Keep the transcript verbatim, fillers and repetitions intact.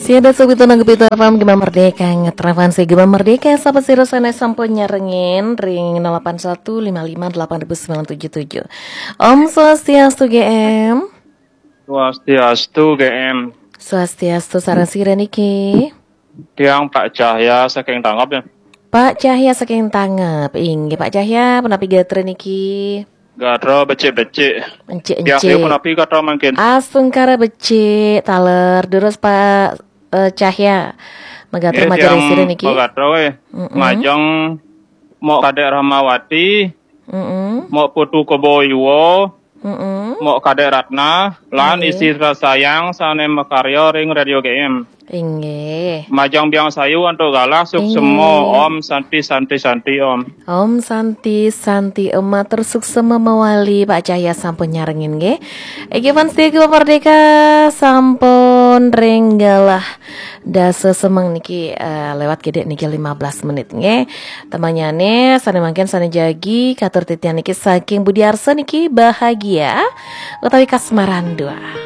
Siadat Subito Nanggu Pito F M Gema Merdeka, ngetrapan si Gema Merdeka, sapa sira sané sampun nyarengin ring nol delapan satu lima lima delapan ribu sembilan tujuh tujuh. Om Swastiastu G M. Swastiastu G M. Swastiastu, sareng sira niki? Tiang Pak Cahya saking Tangep ya. Pak Cahya saking Tangep, inggih Pak Cahya, punapi gatra niki? Gatra becik-becik. Becik-becik. Tiang punapi gatra mangkin? Astungkara becik, taler. Durus Pak eh, Cahya. Magatru. Nggih, majeng tiang sira niki? Magatra wéh. Mm-mm. Majeng Mok Kadek Rahmawati, mm-mm, Mok Putu Kebo Yuwa, mm-mm, Mok Kadek Ratna, lan, nggih, istri sayang sané makarya ring Radio G M. Inggih. Majeng biang sayu antuk galah suksema. Inggih. Om Santi, Santi, Santi, Om. Om Santi, Santi, Om. Matur suksema mawali Pak Cahya sampun nyarengin nggih. Iki fans Gema Merdeka sampun ring galah dasa semeng niki, eh, lewat gedek niki lima belas menit nggih. Temanyane sané mangkin sané jagi katur titiang niki saking Budi Arsa niki Bahagia utawi Kasmaran dua.